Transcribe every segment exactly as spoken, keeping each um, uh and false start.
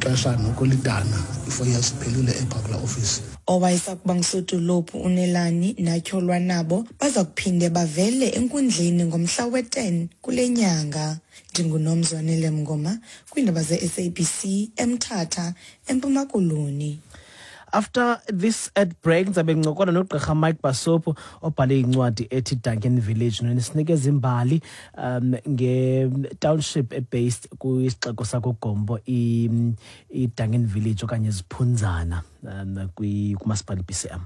Ixesha noko lidana, i-four years iphelile epha kulaa ofisi. Owayesakuba ngusodolophu uNelani natyholwa nabo baza kuphinde bavele enkundleni ngomhla we-ten kule nyanga. NdinguNomzwanele Mngoma kwiindaba ze-S A B C eMthatha, eMpuma Koloni. After this ad break, ndizabe ngincokola nogqirha Mike Basopo obhale incwadi ethi Duncan Village nesinikeza imbali um nge-township ebased kwisixeko sakuGompo, i-Duncan Village okanye Ziphunzana, um kumasipala i-B C M.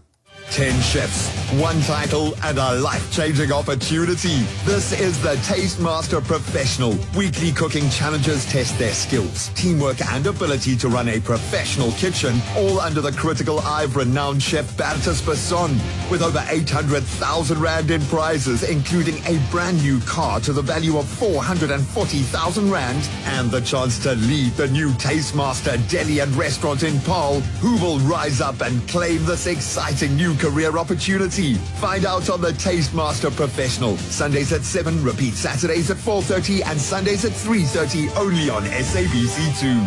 ten chefs, one title, and a life-changing opportunity. This is the Taste Master Professional. Weekly cooking challenges test their skills, teamwork, and ability to run a professional kitchen, all under the critical eye of renowned chef Bertus Basson. With over eight hundred thousand Rand in prizes, including a brand new car to the value of four hundred forty thousand Rand, and the chance to lead the new Taste Master Deli and Restaurant in Paarl, who will rise up and claim this exciting new career opportunity? Find out on the Taste Master Professional. Sundays at seven, repeat Saturdays at four thirty and Sundays at three thirty, only on S A B C two.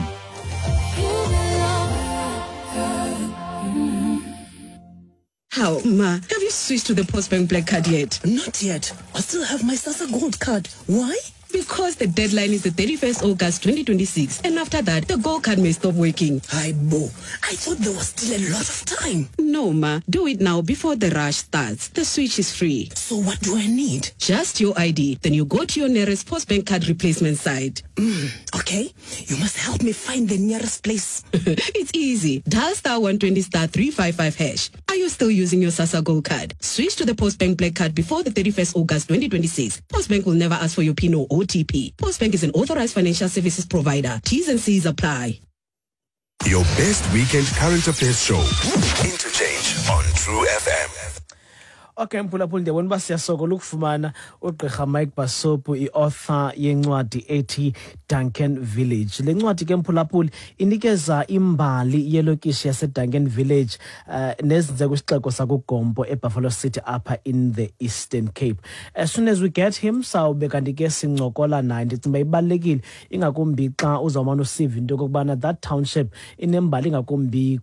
How, Ma, have you switched to the Postbank Black Card yet? Not yet. I still have my SASSA Gold card. Why? Because the deadline is the thirty-first August twenty twenty-six, and after that, the Gold Card may stop working. Hayibo, I thought there was still a lot of time. No, Ma. Do it now before the rush starts. The switch is free. So what do I need? Just your I D. Then you go to your nearest Postbank card replacement site. Mm, okay. You must help me find the nearest place. It's easy. Dial star one twenty star three five five hash. Are you still using your SASSA Gold Card? Switch to the Postbank Black Card before the thirty-first August twenty twenty-six. Postbank will never ask for your PIN or O T P. Postbank is an authorized financial services provider. T's and C's apply. Your best weekend current affairs show, Interchange on True F M. Okay, mphulaphuli, ndiyabona uba siyasokola ukufumana ugqirha Mike Basopu, i-author yencwadi ethi Duncan Village. Le ncwadi ke, mphulaphuli, inikeza imbali yelokishi yaseDuncan Village uh, nezinze kwisixeko sakuGompo eBuffalo City apha in the Eastern Cape. As soon as we get him, sawube kanti ke sincokola naye. Ndicinga uba ibalulekile, ingakumbi xa uzawumane usiva into yokokubana that township inembali, ingakumbi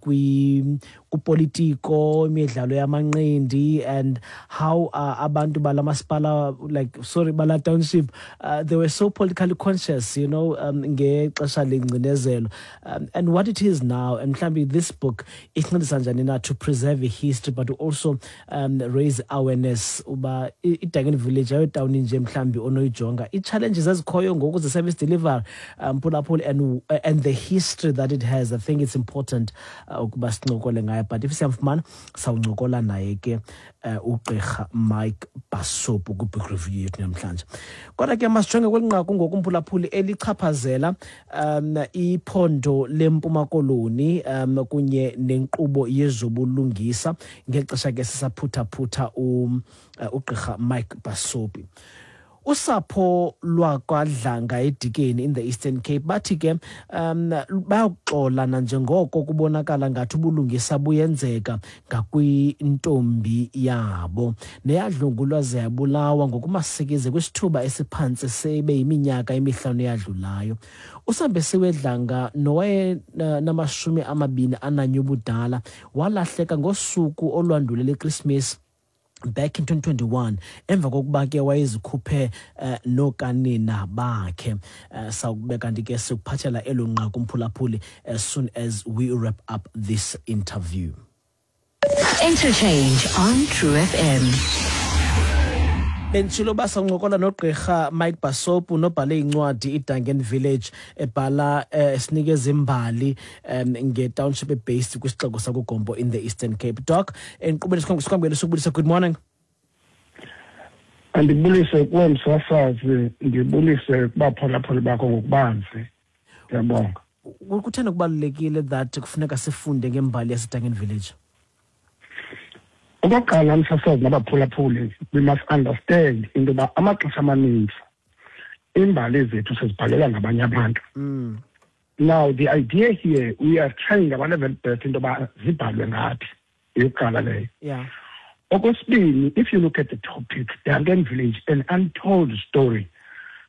kupolitiko, imidlalo yamanqindi, and how uh, abantu bala masipala, like, sorry, bala township, uh, they were so politically conscious you know um, ngexesha lengcinezelo, um, and what it is now, and mhlawumbi this book isincedisa njani na to preserve history but to also um, raise awareness uba i-Duncan Village ayotawuni nje mhlawumbi onoyijonga, ii-challenges ezikhoyo ngoku ze-service delivery, um phulaphula, and, and the history that it has. I think it's important uh, ukuba sincokole ngayo, but if siyamfumana sawuncokola naye ke uh, ugqirha Mike Basopu kwi-book review yethu namhlanje. Kodwa ke masijonge kweli nqaku ngoku, mphulaphuli, elichaphazela um iphondo leMpuma Koloni um kunye nenkqubo yezobulungisa, ngexesha ke sisaphuthaphutha um, uh, ugqirha Mike Basopi. Usapho lwakwaDlanga eDikeni in the Eastern Cape bathi ke um bayakuxola nanjengoko kubonakala ngathi ubulungisa buyenzeka ngakwintombi yabo neyadlwengulwa ze yabulawa ngokumasikizi kwisithuba esiphantsi sebe yiminyaka emihlanu eyadlulayo. USambesiwe Dlanga, nowaye namashumi amabini ananye ubudala, walahleka ngosuku olwandulela iKrismesi back in twenty twenty-one emva kokuba ke wayezikhuphe uh, nokanina bakhe. uh, sawube kanti ke sikuphathela elo nqaku, mphulaphuli, as soon as we wrap up this interview. Interchange on True F M. Benditshilo uba sawuncokola nogqirha Mike Basopu nobhale incwadi iDuncan Village, ebhala eh, sinikeza imbali um nge-township ebased kwisixeko sakuGompo in the Eastern Cape. Doc, enkqubeni sikwamkele, sikubulisa, good morning. Andibulise kuwe, msasazi, ndibulise kubaphulaphuli bakho ngokubanzi. Ndiyabonga. Kutheni kubalulekile that kufuneka sifunde ngembali yaseDuncan Village? Okokuqala, msasazi nabaphulaphuli, we must understand into yoba amaxesha amaninzi iimbali zethu sizibhalela ngabanye abantu. mm. Now the idea here, we are trying our level best into yoba zibhalwe ngathi, eyokuqala leyo. Yeah okwesibini, if you look at the topic, Duncan Village, an untold story,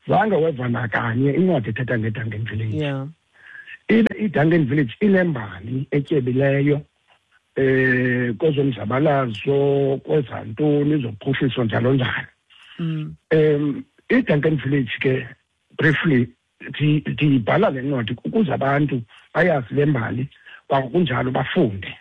zange weva nakanye incwadi ethetha ngeDuncan Village. Yeah Ibe iDuncan Village inembali etyebileyo eh kwezomzabalazo, kwezantoni, zophuhliso njalo njalo. Mm. Um iDuncan Village ke briefly ndibhala le ncwadi ukuze abantu bayazi le mbali, kwakunjalo bafunde.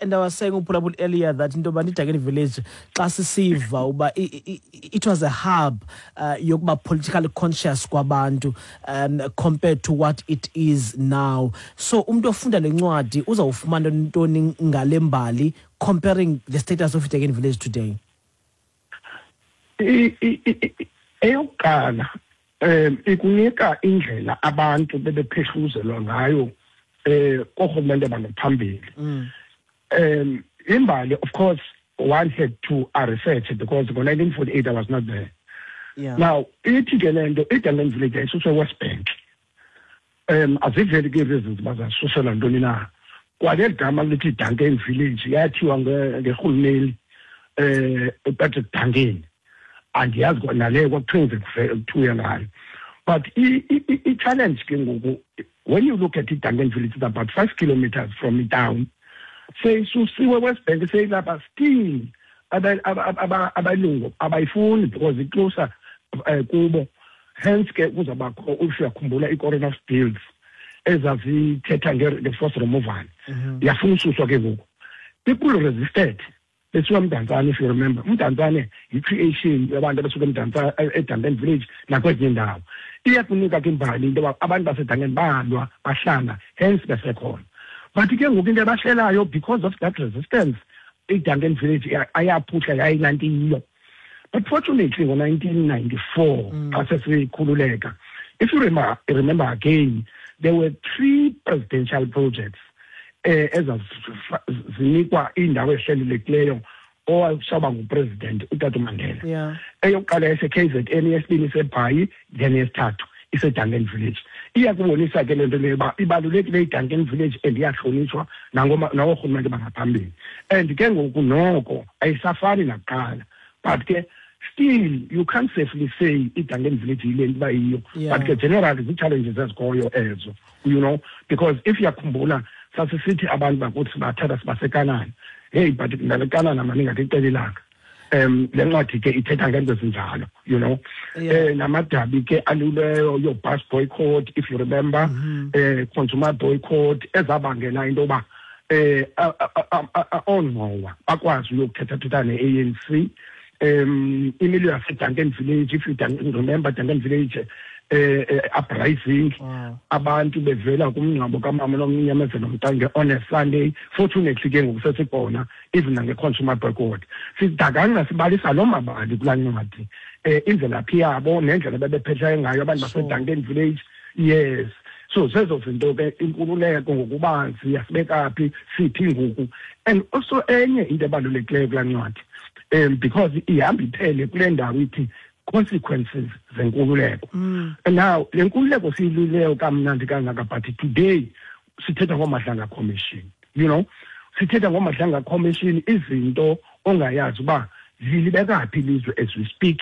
And I was saying uphulaphuli earlier that into yoba iDuncan Village xa sisiva uba it was a hub uh, yokuba politically conscious kwabantu um, compared to what it is now. So umntu ofunda le ncwadi uzawufumana ntoni ngale mbali comparing the status of iDuncan Village today? Eyokuqala um ikunika indlela abantu bebephehluzelwa ngayo eh koorhulumente bangaphambili. Um imbali, of course, one had to research because ngo nineteen forty-eight I was not there. Yeah. Now ithi ke le nto iDuncan Village yayisuswe West Bank. Um aziveli ke reasons bazasusela ntoni na. Kwaleli gama lithi Duncan Village yathiwa ngerhulumeli eh Patrick Duncan. Andiyazi nale kwakuthiwa kuthiwa ngayo. But i-challenge ke ngoku, when you look at iDuncan Village, it's about five kilometers from the town. Seyisusiwe West Bank, seyilapha still abalungu abayifuni because icloser kubo. Hence ke kuzabakho, if uyakhumbula i-Corona Bills ezazithetha nge-force removal. Yafuna ususwa ke ngoku. People resisted. Besuka eMdantsane, if you remember. UMdantsane yi-creation yabantu abasuka eMdantsane, eDuncan Village nakwezinye iindawo. Iyakunika ke imbali into yoba abantu baseDuncan balwa, bahlala, hence besekhona. But ke ngoku into abahlelayo because of that resistance, iDuncan Village ayaphuhla yayilaa nto iyiyo. But fortunately ngo nineteen ninety-four xa sesikhululeka, if you remember, remember again, there were three presidential projects eh ezazinikwa iindawo ezihlelelekileyo owasaba ngupresident uTata Mandela. Yeah. Eyokuqala yase-K Z N, eyesibini iseBhayi, then eyesithathu iseDuncan Village. Iyakubonisa ke le nto leyo uba ibalulekile iDuncan Village and iyahlonitshwa nangoorhulumente bangaphambili. And ke ngoku noko ayisafani nakuqala. But ke still you can't safely say iDuncan Village yile nto uba yiyo. Yeah. But ke generally zii-challenges ezikhoyo ezo, you know, because if uyakhumbula sasisithi abantu bakuthi bathatha sibasekanani. Hey, but ngale Kanana mani ngathi ixela ilanga. Um le ncwadi ke ithetha ngento ezinjalo, you know. Yeah. Eh namadabi ke aluleyo, your bus boycott, if you remember, mm-hmm. eh consumer boycott ezabangela into yoba eh oongqowa bakwazi uyokuthetha-thetha ne-A N C. Um imilo yaseDuncan Village, if you remember Duncan Village eh, eh uprising. Wow. Abantu bevela kumngcwabo kamama nomnyamezelo Mtange on a Sunday. Fortunately ke ngoku sesikhona even nange-consumer boycott. Sidakanga sibalisa loo mabali kulaa ncwadi, eh imvelaphi yabo nendlela bebephethe ngayo abantu baseDuncan Village. Yes, so zezo zinto ke, inkululeko ngokubanzi yasibeka phi, siphi ngoku. And also enye into ebalulekileyo kulaa ncwadi, um because ihamba iphele kule ndawo ithi consequences zenkululeko. Mm. And now le nkululeko siyiluleyo kamnandi kangaka, but today sithetha ngoMadlanga Commission, you know, sithetha ngoMadlanga Commission, izinto ongayazi uba zilibeka phi ilizwe as we speak.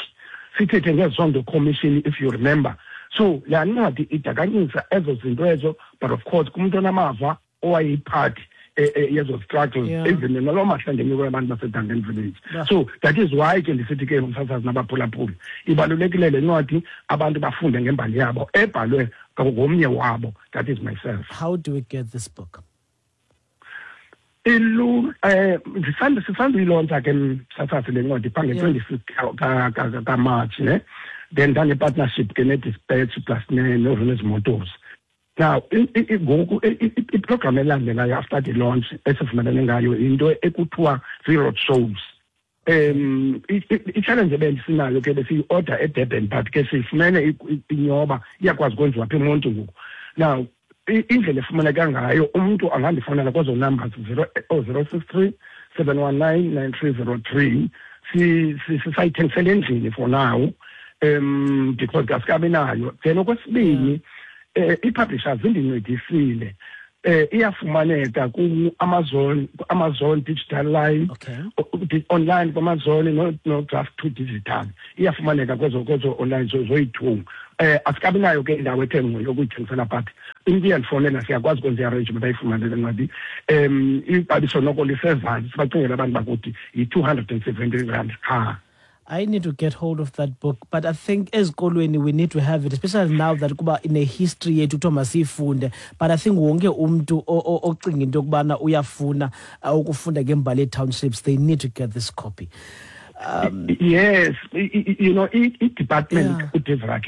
Sithethe ngeZondo Commission, if you remember. So le ncwadi idakanyisa ezo zinto ezo, but of course kumntu onamava owayeyiphathi yezo struggles, Yeah. even naloo mahlandenyuko yabantu baseDuncan Village. Yeah. So that is why ke ndisithi ke msasazi nabaphulaphuli, ibalulekile le ncwadi, abantu bafunde ngembali yabo ebhalwe ngomnye wabo, that is myself. How do we get this book? Ilu eh ndisanda sisanduyilontsha ke msasazi le ncwadi phaa nge-twenty-six kaMarch, ne? Then ndane-partnership ke ne-Dispatch plus ne-Renes Motors. Now ngoku iprogram elandelayo after the launch esivumelene ngayo into ekuthiwa zii-road shows. Um i-challenge ebendisinayo ke besiyi-order eDurban, but ke sifumene inyoba iyakwazi ukwenziwa apha eMonti ngoku. Now indlela efumaneka ngayo, umntu angandifonela kwezo numbers zero zero six three seven one nine nine three zero three. Sisayithengisela endlini for now, um because asikabi nayo. Then okwesibini, eh i-publishers zindincedisile. Eh iyafumaneka ku-Amazon, ku-Amazon Digital Line, okay. online ku-Amazon, no, no Draft two Digital. Iyafumaneka kwezo kwezo online zoyi-two. Eh asikabi nayo ke indawo ethe ngqo yokuyithengisela, but into iyandifonela siyakwazi ukwenza i-arrangement ayifumane le ncwadi. Um ixabiso noko lisezantsi, sibacingela abantu bakuthi yi-two hundred and seventy rand qha. I need to get hold of that book, but I think ezikolweni we need to have it, especially now that kuba in a history yethu kuthiwa masiyifunde. But I think wonke umntu ocinga into yokubana uyafuna ukufunda ngembali ye-townships, they need to get this copy. Um, yes, you know, i-department uDevrak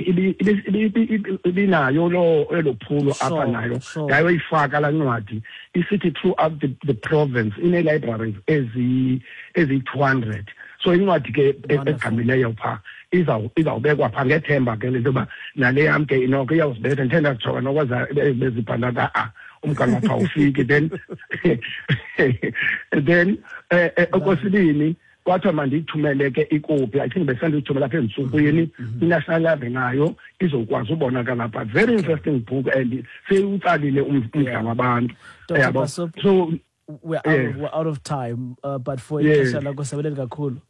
ibinayo lo elo phulo apha nayo yayoyifaka laa ncwadi isithi throughout the, the province ine-libraries ezi-two hundred. So incwadi ke egqamileyo phaa izawubekwa phaa ngethemba ke le nto yoba nale yam ke inoko iyawuzibetha. Ndithe ndazijonga nokwaza bezibhala a umgangatho awufiki. Then then okwesibini kwathiwa mandiyithumele ke ikopi. I think besandiyithumela apha ezintsukwini, i-National Library nayo izokwazi ubonakala phaa. Very interesting book and seyutsalile umdla wabantu. Yabo. So we're out, yeah. we're out of time, uh, but for ixesha lakho siyabulela kakhulu.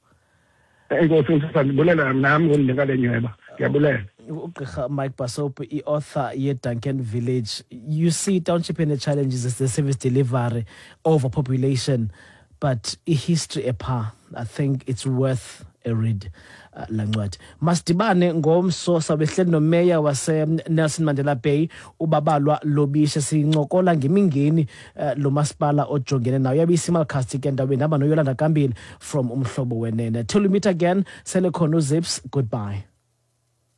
Enkosi, ndibulela nami ngondinika le nyweba. Ndiyabulela. Ugqirha Mike Basop, i-author ye-Duncan Village. You see township and the challenges is the service delivery, overpopulation, but i-history epha, I think it's worth a read. Uh, la ncwadi. Masidibane ngomso, sawube sihleli nomeya wase Nelson Mandela Bay uBabalwa Lobishe, sincokola ngemingeni uh, lo masipala ojongene nayo. Yabe isimulcast ke ndaweni hamba noYolanda Kambile from Umhlobo Wenene. Till we meet again, sele khona uZips. Goodbye.